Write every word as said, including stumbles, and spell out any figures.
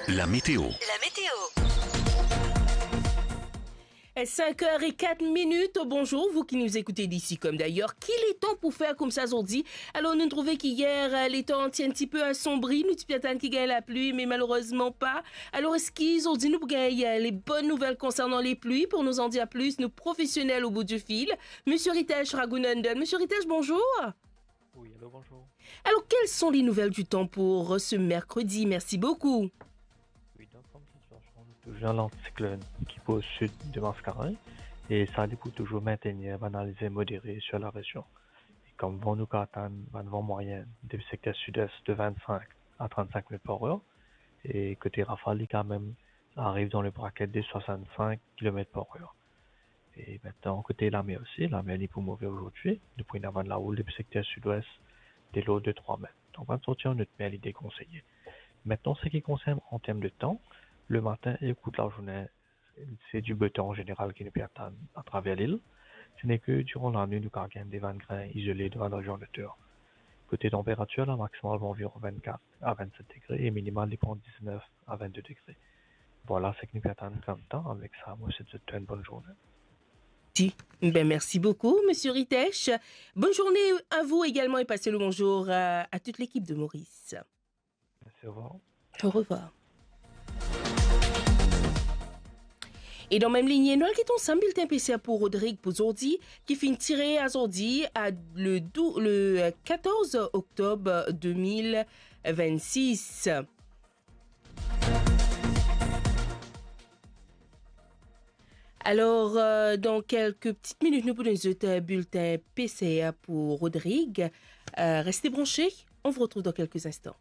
La météo. La météo. Cinq heures et quatre minutes. Bonjour, vous qui nous écoutez d'ici comme d'ailleurs. Ki letan pou fer koumsa zordi? Alor, nou trouve ki yer, euh, letan ti enn tipe asonbri, nou ti pe atann ki gagn lapli, me malerezman pa. Alor, eski zordi nou pou gagn, euh, les bonnes nouvelles concernant les pluies? Pour nous en dire plus, nou profesionel au bout du fil, Monsieur Ritesh Raghunandan. Monsieur Ritesh, bonjour. Oui, allô, bonjour. Alors, quelles sont les nouvelles du temps pour ce mercredi? Merci beaucoup. Oui, dan form sitiasion, nou touzour dan lantiklonn ki pou o sid de Mascarenhas e sa li pou touzour mintenir bann alizé modere sir larezion. E kom van nou kapav atann bann van mwayin depi sekter sid-es de vinn-sink a trinn-sink met par er, e kote rafal li kapav ariv dan le braket de swasant-sink kilomet par er. E mintnan, kote lamer osi, lamer li pou move azordi, nou pou ena bann laroul depi sekter sid-wes de lord de trwa met. Donk, bann sorti an not mer li dekonseye. Mintnan, seki konsern an term de tan, le matin e kour lazourne, se du beau temps an zeneral ki nou pe atann atraver lil. Se ne ke diran lanwit nou kapav gagn de bann grin izole dan bann rezion loter. Kote tanperatir, la maksimal pou anviron vinn-kat a vinn-set degre e minimal li pou ant diz-nef a vinn-de degre. Vwala seki nou pe atann kom tan. Avek sa, mo swet zot tou enn bonn zourne. Ti. Ben, merci beaucoup, Monsieur Ritesh. Bonne journée à vous également et passez le bonjour à, à toute l'équipe de Maurice. Merci, au revoir. Au revoir. E dan mem linie, nou al get ansam biltin PCR pou Rodrig pou zordi, ki finn tire azordi a le dou-, le, euh, katorz oktob de mil vinn-sis. Alors, euh, dans quelques petites minutes, nou pou donn zot, euh, biltin PCR pou Rodrig. Euh, restez branchés, on vous retrouve dans quelques instants.